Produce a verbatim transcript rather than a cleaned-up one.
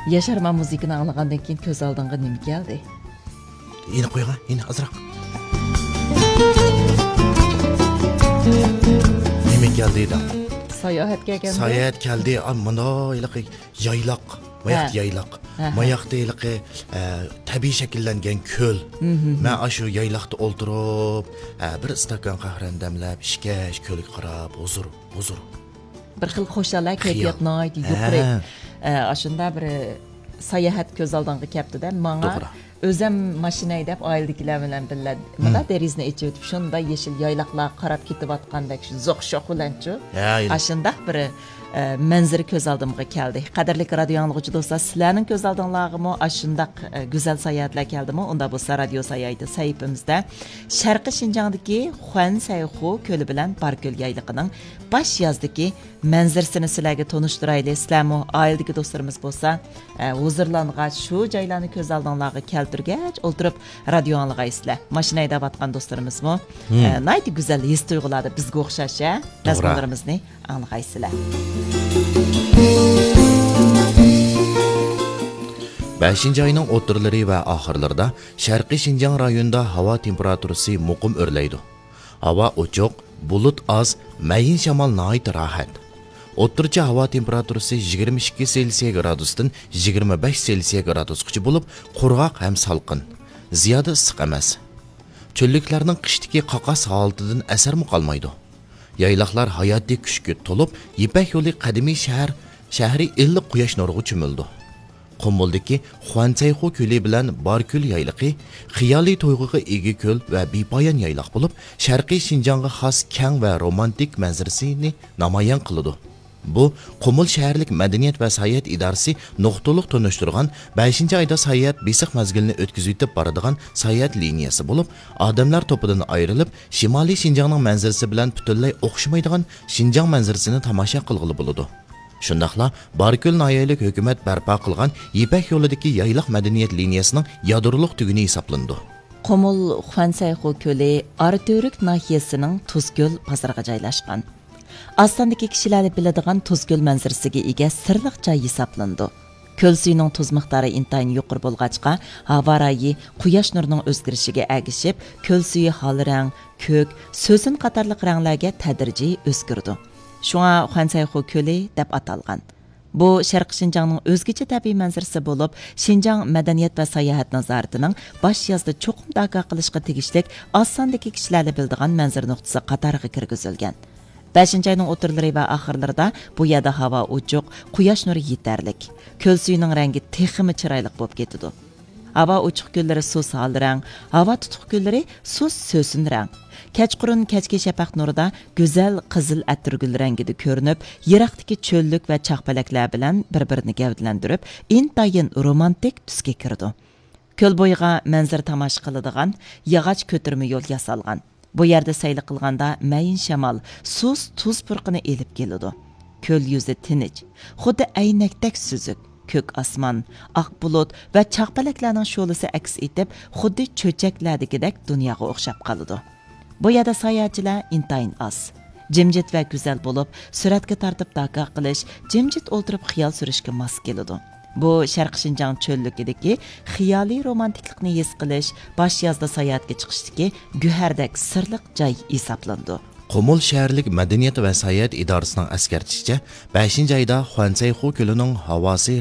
ياشارمان، مۇزىكىنى ئاڭلىغاندىن كېيىن كۆز ئالدىڭغا نېمە كەلدى؟ يەنە قويغا، يەنە ئازراق. نېمە كەلدى دەڭ؟ ساياھەت كەلگەندە. ساياھەت كەلدى. ئا، مانا ھېلىقى يايلاق. ماياقتا ھە. يايلاق. ھە، ھە. ماياقتا ھېلىقى، ئە، تەبىئىي شەكىللەنگەن كۆل. مم، مم، مم. مەن ئاشۇ يايلاقتا ئولتۇرۇپ، ئە، بىر ئىستاكان قەھۋەنى دەملەپ، ئىچكەچ كۆلگە قاراپ، ھۇزۇر، ھۇزۇر. بىر خىل خۇشال، ھە، خىيال. كەيپىيات ناھايىتى يۇقىرى. ھە. ئە، ئاشۇنداق بىر ساياھەت كۆز ئالدىڭغا كەپتۇ-دە، ماڭا توغرا. ئۆزەم ماشىنا ھەيدەپ، ئائىلىدىكىلەر بىلەن بىللە، مم. مۇنداق دېرىزىنى ئېچىۋېتىپ، شۇنداق يېشىل يايلاقلارغا قاراپ كېتىۋاتقاندەك، شۇ زوق شوخ بىلەنچۇ. ھە، ئاشۇنداق بىر، ئە، مەنزىرە كۆز ئالدىمغا كەلدى. قەدىرلىك رادىيو ئاڭلىغۇچى دوستلار، سىلەرنىڭ كۆز ئالدىڭلارغىمۇ ئاشۇنداق، ئە، گۈزەل ساياھەتلەر كەلدىمۇ؟ ئۇنداق بولسا، رادىيو ساياھىتى سەھىپىمىزدە شەرقىي شىنجاڭدىكى خۇەنسەيخۇ كۆلى بىلەن باركۆل يايلىقىنىڭ باش يازدىكى مەنزىرىسىنى سىلەرگە تونۇشتۇرايلى. سىلەرمۇ ئائىلىدىكى دوستلىرىمىز بولسا، ئە، ھۇزۇرلانغاچ، شۇ جايلارنى كۆز ئالدىڭلارغا كەلتۈرگەچ ئولتۇرۇپ رادىيو ئاڭلىغايسىلەر. ماشىنا ھەيدەۋاتقان دوستلىرىمىزمۇ، مم. ئە، ناھايىتى گۈزەل ھېس تۇيغۇلاردا بىزگە ئوخشاش، ھە؟ توغرا. مەزمۇنلىرىمىزنى ئاڭلىغايسىلەر. بەشىنچى ئاينىڭ ئوتتۇرىلىرى ۋە ئاخىرلىرىدا شەرقىي شىنجاڭ رايونىدا ھاۋا تېمپېراتۇرىسى مۇقىم ئۆرلەيدۇ. ھاۋا ئوچۇق، بۇلۇت ئاز، مەيىن شامال ناھايىتى راھەت. ئوتتۇرىچە ھاۋا تېمپېراتۇرىسى يىگىرمە ئىككى سېلسىيە گرادۇستىن يىگىرمە بەش سېلسىيە گرادۇسقىچە بولۇپ، قۇرغاق ھەم سالقىن. زىيادە ئىسسىق ئەمەس. چۆللۈكلەرنىڭ قىشتىكى قاقاس ھالىتىدىن ئەسەرمۇ قالمايدۇ. يايلاقلار ھاياتىي كۈچكە تولۇپ، يىپەك يولى قەدىمىي شەھەر، شەھىرى ئىللىق قۇياش نۇرىغا چۆمۈلىدۇ. قۇمۇلدىكى خۇەنسەيخۇ كۆلى بىلەن باركۆل يايلىقى خىيالىي تۇيغۇغا ئىگە كۆل ۋە بىپايان يايلاق بولۇپ، شەرقىي شىنجاڭغا خاس كەڭ ۋە رومانتىك مەنزىرىسىنى نامايان قىلىدۇ. بۇ قۇمۇل شەھەرلىك مەدەنىيەت ۋە ساياھەت ئىدارىسى نۇقتىلىق تونۇشتۇرغان بەشىنچى ئايدا ساياھەت بېسىق مەزگىلىنى ئۆتكۈزۈۋېتىپ بارىدىغان ساياھەت لىنىيەسى بولۇپ، ئادەملەر توپىدىن ئايرىلىپ، شىمالىي شىنجاڭنىڭ مەنزىرىسى بىلەن پۈتۈنلەي ئوخشىمايدىغان شىنجاڭ مەنزىرىسىنى تاماشا قىلغىلى بولىدۇ. شۇنداقلا باركۆل ناھىيەلىك ھۆكۈمەت بەرپا قىلغان يىپەك يولىدىكى يايلاق مەدەنىيەت لىنىيەسىنىڭ يادرولۇق تۈگۈنى ھېسابلىنىدۇ. قۇمۇل خۇەنسەيخۇ كۆلى ئاراتۈرك ناھىيەسىنىڭ تۇزكۆل بازىرىغا جايلاشقان. ئاز ساندىكى كىشىلەرلا بىلىدىغان تۇزكۆل مەنزىرىسىگە ئىگە سىرلىق جاي ھېسابلىنىدۇ. كۆل سۈيىنىڭ تۇز مىقدارى ئىنتايىن يۇقىرى بولغاچقا، ھاۋا رايى قۇياش نۇرىنىڭ ئۆزگىرىشىگە ئەگىشىپ، كۆل سۈيى ھال رەڭ، كۆك، سۆسۈن قاتارلىق رەڭلەرگە تەدرىجىي ئۆزگىرىدۇ. شۇڭا خۇەنسەيخۇ كۆلى دەپ ئاتالغان. بۇ شەرقىي شىنجاڭنىڭ ئۆزگىچە تەبىئىي مەنزىرىسى بولۇپ، شىنجاڭ مەدەنىيەت ۋە ساياھەت نازارىتىنىڭ باش يازدا چوقۇم داكا قىلىشقا تېگىشلىك ئاز ساندىكى كىشىلەرلا بىلىدىغان مەنزىرە نۇقتىسى قاتارىغا كىرگۈزۈلگەن. بەشىنچى ئاينىڭ ئوتتۇرىلىرى ۋە ئاخىرلىرىدا بۇ يەردە ھاۋا ئوچۇق، قۇياش نۇرى يېتەرلىك. كۆل سۈيىنىڭ رەڭگى تېخىمۇ چىرايلىق بولۇپ كېتىدۇ. ھاۋا ئوچۇق كۈنلىرى سۇس ھال رەڭ، ھاۋا تۇتۇق كۈنلىرى سۇس سۆسۈن رەڭ. كەچقۇرۇن كەچكى شەپەق نۇرىدا گۈزەل قىزىل ئەتىرگۈل رەڭگىدە كۆرۈنۈپ، يىراقتىكى چۆللۈك ۋە چاقپەلەكلەر بىلەن بىر-بىرىنى گەۋدىلەندۈرۈپ، ئىنتايىن رومانتىك تۈسكە كىرىدۇ. كۆل بويىغا مەنزىرە تاماشا قىلىدىغان ياغاچ كۆتۈرمە يول ياسالغان. بۇ يەردە سەيلە قىلغاندا مەيىن شامال سۇس تۇز پۇرىقىنى ئېلىپ كېلىدۇ. كۆل يۈزى تىنچ، خۇددى ئەينەكتەك سۈزۈك. كۆك ئاسمان، ئاق بۇلۇت ۋە چاقپەلەكلەرنىڭ شولىسى ئەكس ئېتىپ، خۇددى چۆچەكلەردىكىدەك دۇنياغا ئوخشاپ قالىدۇ. بۇ يەردە ساياھەتچىلەر ئىنتايىن ئاز. جىمجىت ۋە گۈزەل بولۇپ، سۈرەتكە تارتىپ داكا قىلىش، جىمجىت ئولتۇرۇپ خىيال سۈرۈشكە ماس كېلىدۇ. بۇ شەرقىي شىنجاڭ چۆللۈكىدىكى خىيالىي رومانتىكلىقنى ھېس قىلىش، باش يازدا ساياھەتكە چىقىشتىكى گۆھەردەك سىرلىق جاي ھېسابلىنىدۇ. قۇمۇل شەھەرلىك مەدەنىيەت ۋە ساياھەت ئىدارىسىنىڭ ئەسكەرتىشىچە، بەشىنچى ئايدا خۇەنسەيخۇ كۆلىنىڭ ھاۋاسى